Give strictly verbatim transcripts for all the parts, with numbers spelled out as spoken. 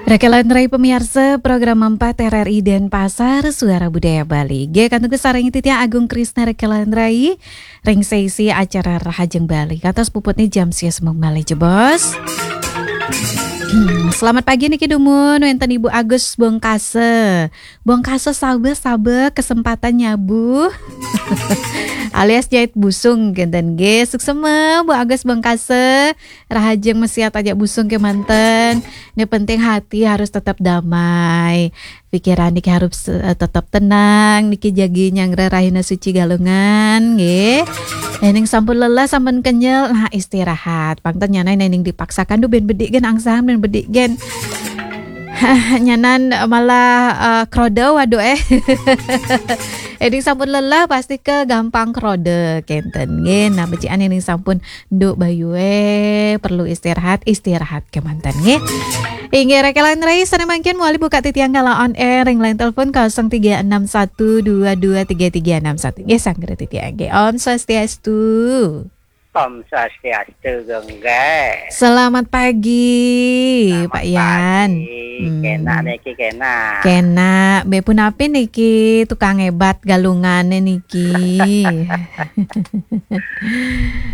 Rekelan Rai pemiarsa, program empat R R I Denpasar, Suara Budaya Bali. Nggih, kantun sareng titiang Agung Krisna Rekelan Rai, ring sesi acara Rahajeng Bali. Kantos puputne jam sia semeng malih jebos. Hmm, selamat pagi niki dumun wenten Ibu Agus Bongkase. Bongkase saba-saba kesempatan nyabu. Alias jait busung kenten nggih. Suksema Bu Agus Bongkase. Rahajeng mesiat ajak busung kemanten. Ne penting hati harus tetap damai. Pikiran niki harus eh, tetap tenang. Niki jagi nyanggra rahina suci Galungan nggih. Ening sampun lelah, sampun kenyel, nah istirahat. Pangten nyanan ening dipaksakan duh ben bedik gen angsam, ben bedik gen. Nyanan malah eh, krodo, waduh eh. Ening sampun lelah pasti ke gampang krodo kenten nggih. Nah, becikan ening sampun nduk bayu eh perlu istirahat, istirahat kemanten nggih. Inggih, Rekelan Rai, sane mangkin mawali buka titiang kala on air ring line telepon kosong tiga enam satu dua dua tiga tiga enam satu. Nggih, sanggra titiang nggih. Om Swastiastu. Om Swastiastu, Gengge. Selamat pagi, Selamat Pak Yan. Pagi. Hmm. Kena niki, kena. Kena, be punapi niki tukang ebat Galungane niki.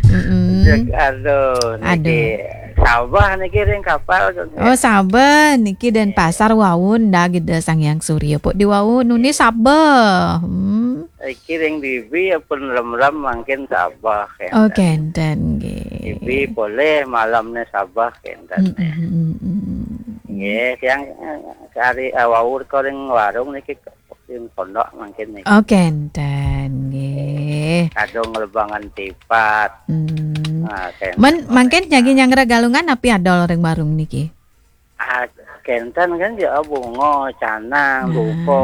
Mm-mm. Cek, aduh, niki Aduh. Sabah niki ring kapal, Gengge. Oh, Sabah niki Denpasar wau ndak gede Sang Hyang Surya pok di wau nuni Sabah. Hmm. Iki ring bibi ya pun lem-lem mangkin Sabah ya. Oh, kenten nggih. Bibi boleh malamnya Sabah kenten. Mm, mm, mm, mm. Nggih, tiang eh, kari eh, wau ko ring warung niki ring pondok mangkin niki. Oh, kenten nggih. Kadung lebangan tipat. Hmm. Nah, kenten. Men mangkin jagi nyanggra Galungan napi adol ring warung niki? Ah, kenten kan ya bunga, canang, Nah. Dupa,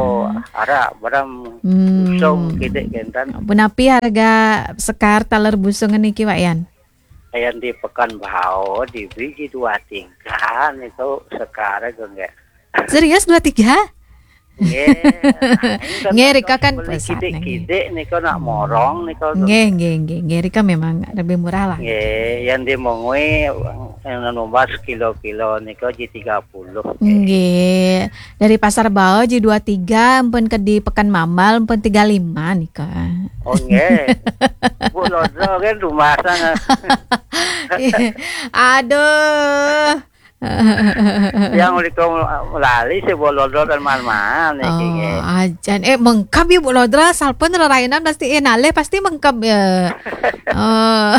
arak, berem, Hmm. Busung, kidik kenten. Punapi harga sekar taler busung niki, Pak Yan? Ayan di Pekan Bao, di biji dua tiga niku sekar, Gengge. Serius dua tiga? Nggih. Nah, ini kan Nggih, rika kan beli pesat, kidik-kidik niku nak Hmm. morong niku. Nggih, nggih, nggih, nggih, rika memang lebih murah lah. Nggih, yang di Mongwe yang numbas kilo-kilo niku ji tiga puluh. Nggih. Dari Pasar Bao ji dua tiga, ampun ke di Pekan Mambal, ampun tiga lima nika. Oh, nggih. Bu Lodro kan rumah sana. Aduh. Yang uliko lali si Bu Lodro dan man-man niki, Oh, nggih. Ajan. Eh, mengkab ya Bu Lodra, salpun rerainan pasti eh nalih pasti mengkab ya. Oh.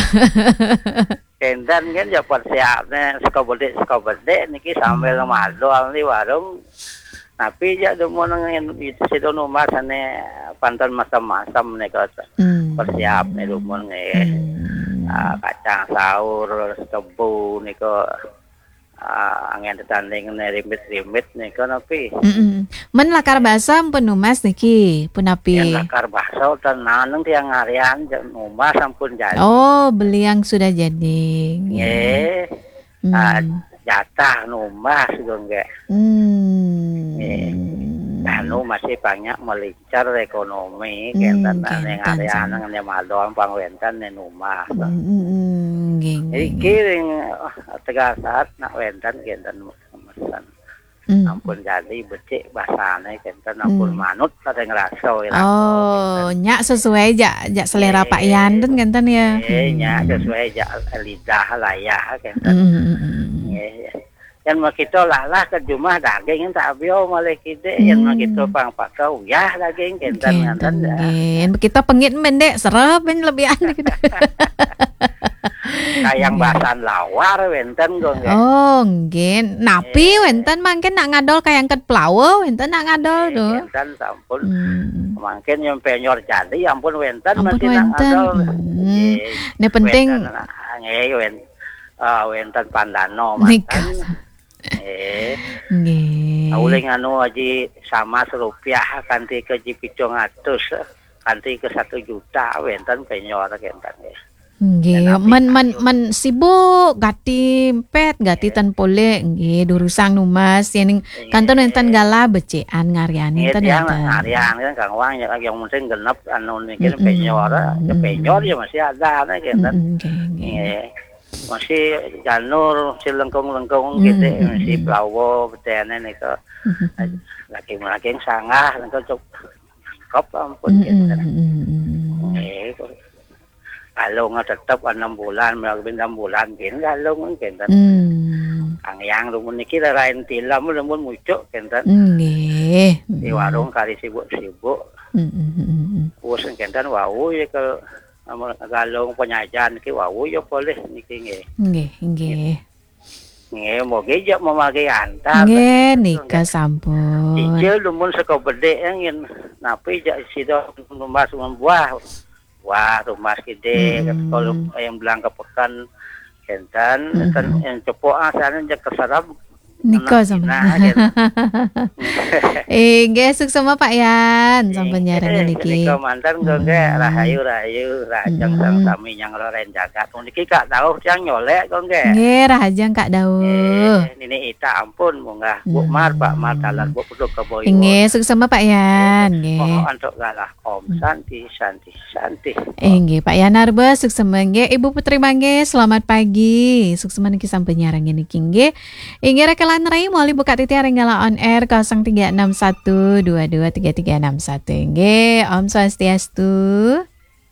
Kenten kan ya persiapne saka bedik, saka bedik niki sambil Hmm. madol di warung. Tapi ya dumun ngen itu situ numbas ane panten macam-macam nika Hmm. persiapne dumun nggih. Hmm. Ah, kacang saur, tebu nika ah, angin tetanding ne rimit-rimit nika napi. Mm-mm. Men lakar basa ampun numbas niki, punapi? Yang lakar basa ten naneng tiang ngarian ja numbas ampun jadi. Oh, beli yang sudah jadi. Nggih. Hmm. Ah, jatah numbas juga nggih. Hmm. Nggih. Anu masih banyak melincar ekonomi, Hmm, kenten ane kenten ngarian sih. Ngene madon pang wenten ne numbas. Hmm, hmm, hmm, nggih, nggih, Iki nggih. Ring, ah, tegal saat nak wenten kenten mesen. Hmm. Ampun jadi becik basane kenten ampun Hmm. manut pada ngerasa ira. Oh, nyak sesuai jak, jak selera Pak Yan ten kenten ya. Eh, nyak Hmm. sesuai jak lidah layah kenten. Hmm, hmm, hmm, hmm. Nggih, ya. Yang mau kita lalah ke jumah daging tak bio malih kidik, yang mau kita Hmm. pang pakai uyah daging kenten Nggih, nganten ya. Nggih. Kita pengit mendek serep ben lebih aneh gitu. Kayang Nggih. Basan lawar wenten kok nggih. Oh, nggih. Napi Nggih. Wenten mangkin nak ngadol kayang ket plawa wenten nak ngadol Nggih, tuh. Wenten sampun. Hmm. Mangkin yang penyor jadi ampun wenten Ampun mesti nak wenten. Ngadol. Hmm. Nggih. Ini penting Wenten, ah, nggih wen, ah, wenten pandano Nika. Manten. Nggih. Nggih. Uling anu aji sama serupiah kanti ke ji pitung atus, kanti ke satu juta wenten penyor kenten nggih. Nggih, men, men, men sibuk gati empet gati Nggih. Ten polek nggih durusang numbas yening Nggih. Kanton wenten gala becikan ngariani Nggih, ten tiang wenten. Ngarian kan Kang Wang ya yang penting genep anu niki Mm-mm. Penyor, ya penyor ya masih ada nih kenten. Mm-mm, nggih, nggih. Nggih. Masih janur, masih lengkung-lengkung gitu, masih plawo, betene nika. Lagi-lagi sanggah, lengkung cuk-, cekep ampun gitu. Nggih, kok. Galung tetep enam bulan, enam bulan gin galung kinten. Kang Yang rumun niki lain tilam, rumun mucuk kinten. Nggih. Di warung kali sibuk-sibuk. Wis kinten wau ya ke, amun galung penyajian niki wau ya boleh niki nggih. Nggih, nggih. Nggih, mogi jak memakai antar. Nggih, nika sampun. Cicil dumun saka bedhik ngin napi jak sida numbas buah. Buah tumbas kide, kalau yang bilang ke peken, kenten, ten yang cepok asane jak keserap. Nika sampun. Nah, gitu. Eh, nggih, suksema Pak Yan, sampun nyarengin niki. Nika mantan kok nggih, rahayu, rahayu, rahajeng sang sami nyang roren jagat. Niki Kak Dauh tiang nyolek kok nggih. Nggih, rahajeng Kak Dauh. Eh, nini Ita ampun munggah. Bu Mar, Pak Mar, talan Bu Peduk Keboyo. Nggih, suksema Pak Yan, nggih. Mohon antuk galah. Om Santi, Santi, Santi. Inggih, Pak Yan Arba, suksema nggih. Ibu Putri Mangge, selamat pagi. Suksema niki sampun nyarengin niki nggih. Inggih, rekelan rai, moli buka titi aring gala on air kosong tiga enam satu dua dua tiga tiga enam satu. Inggih, Om Swastiastu.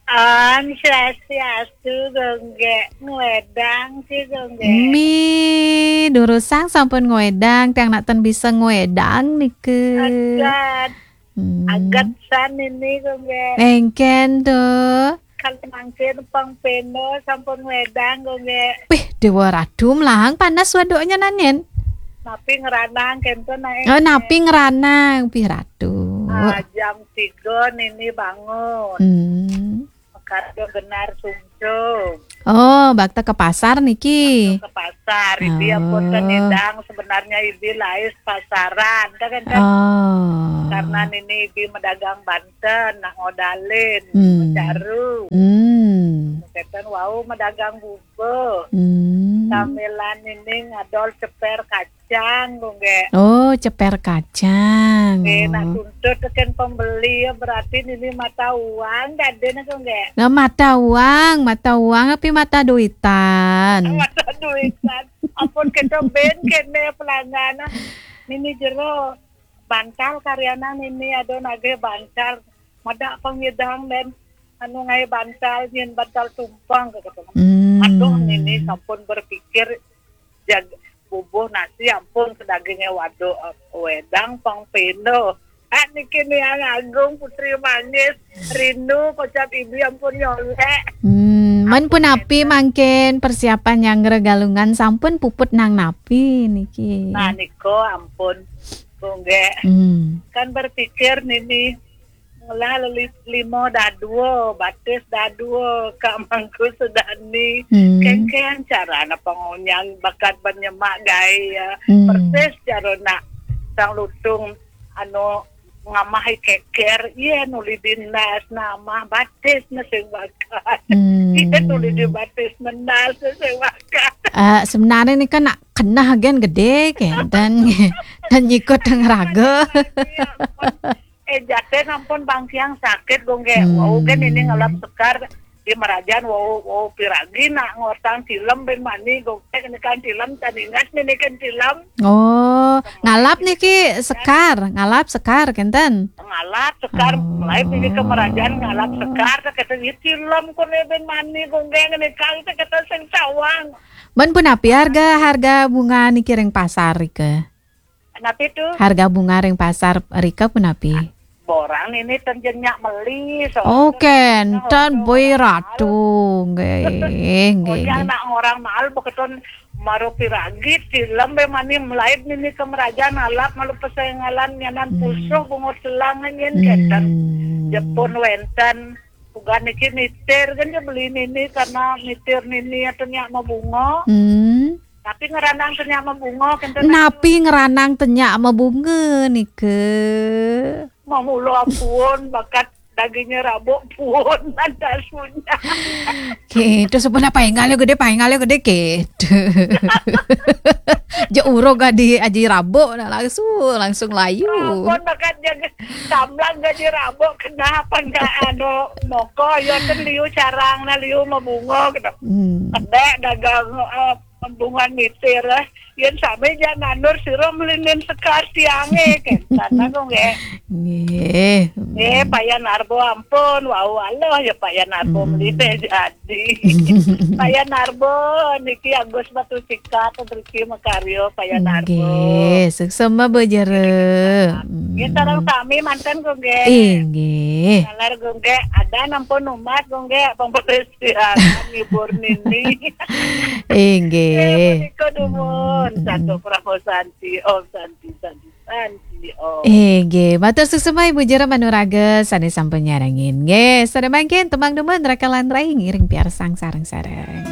Om Swastiastu, Gongge. Ngwedang sih, Gongge. Mi, durusang sampun ngwedang, tiang nak ten bisa ngwedang nike. Agat. Hmm. Agat san ini, Gongge. Engken tuh. Kalau mangkin pang peno sampun ngwedang, Gongge. Pih, Dewa Ratu melahang panas waduknya nanen. Napi ngeranang kento naik. Oh, napi ngeranang, pih Ratu. Ah, jam tiga nini bangun. Hmm. Makarya benar sungsung. Oh, bakta ke pasar niki. Ke pasar, ibi ampun kan nidang, sebenarnya ibi lais pasaran, kan, kan? Oh. Karena nini ibi medagang banten, nah ngodalin, hmm, caru. Hmm. Keten wau medagang bubur. Hmm. Samilan nini ngadol ceper kacang, Gongge. Oh, ceper kacang. Eh, nah, tuntut teken pembeli ya, berarti nini mata uang, dadena, Gongge. Nah, mata uang, mata uang api mata duitan? Mata duitan. Ampun, kita ben kene pelangganan. Nini jero bantal karyana nini ada nagih bantal. Mada pengidang dan anu ngai bantal, nyen bantal tumpang, kata. Hmm. Aduh, nini sampun berpikir jag-, bubuh nasi ampun ke dagingnya waduk, eh, wedang pang peno. Ah, niki niang agung Putri Manis, rindu kocap ibi ampun nyolek. Hmm, men punapi mangkin persiapan nyanggra galungan sampun puput nang napi niki? Nah, niko ampun, Gongge. Hmm. Kan berpikir nini, ngelah leli-, limo dadua, batis dadua, Kak Mangku Sedani. Hmm. Kengkeng cara na pengonyang bakat penyemak gaya. Hmm. Persis cara nak sang lutung anu ngamahi keker, iya nuli dinas nama batis na sing bakat. Hmm. Iya nuli di batis menas na sing bakat. Eh, sebenarnya ni kan nak kena gen gede, kenten. Dan nyikut dengan raga. Eh, jate nampun bangkiang sakit, Gongge. Hmm. Wau kan ini ngalap sekar di Merajan, wau, wau piragi nak ngortang tilem ben mani, Gongge, ini kan tilem, taningas ini kan tilem. Oh, ngalap niki sekar, ngalap sekar, kenten? Ngalap sekar, oh, mulai ini ke Merajan ngalap sekar, tak kata, "Ya, tilem kone ben mani, Gongge, ini kan," tak kata sing sawang. Men punapi harga, harga bunga niki ring pasar rika? Napi tu? Harga bunga ring pasar rika punapi? Borang ini ten jenyak meli, so. Oh, kenten, boi ratu. Nggih, nggih, nggih. Nak orang mahal beketon maru piragi, tilem be mani melaib nini ke Merajan alap malu pesengalan nyanan pusuh bungut selang nyen kenten. Hmm. Jepun wenten. Ugan niki mitir kan dia beli nini karena mitir nini atau nyak mabunga. Hmm. Tapi ngeranang tenyak mabunga kenten. Napi ngeranang tenyak mabunga nika? Mamulo ampun bakat Dagingnya rabo pun ada sunya. Gitu, sebenarnya paingalnya gede, paingalnya gede gitu. Ja urug adi aji rabo, nah langsung, langsung layu. Ampun, makan jaga samlang gaji rabo, kenapa nggak anu moko, ya kan liu carang, nah liu mabunga gitu. Hmm. Kedek dagang eh, pembungan mitir eh. Yen sami ja nandur sira melinin sekar tiange kan. Sana kok nggih. Nggih. Eh, Payan Arbo ampun, wau Allah ya Payan Arbo. Hmm. Melite jadi. Payan Arbo niki Agus Batu Cikat, Riki Makaryo, Payan Arbo. Nggih, suksema Bu Jero. Nggih, sareng sami manten kok nggih. Inggih. Nalar kok nggih, ada nampun umat kok nggih, pembersihan ngibur nini. Inggih. Eh, punika dumun. Hmm. Santo Prabowo Santi, Om Santi, Santi, Santi, Om. Inggih, matur suksema Ibu Jero Manuraga sane sampun nyarengin. Nggih, sare mangkin tembang dumun Rakalan Rai ngiring piarsang sareng-sareng.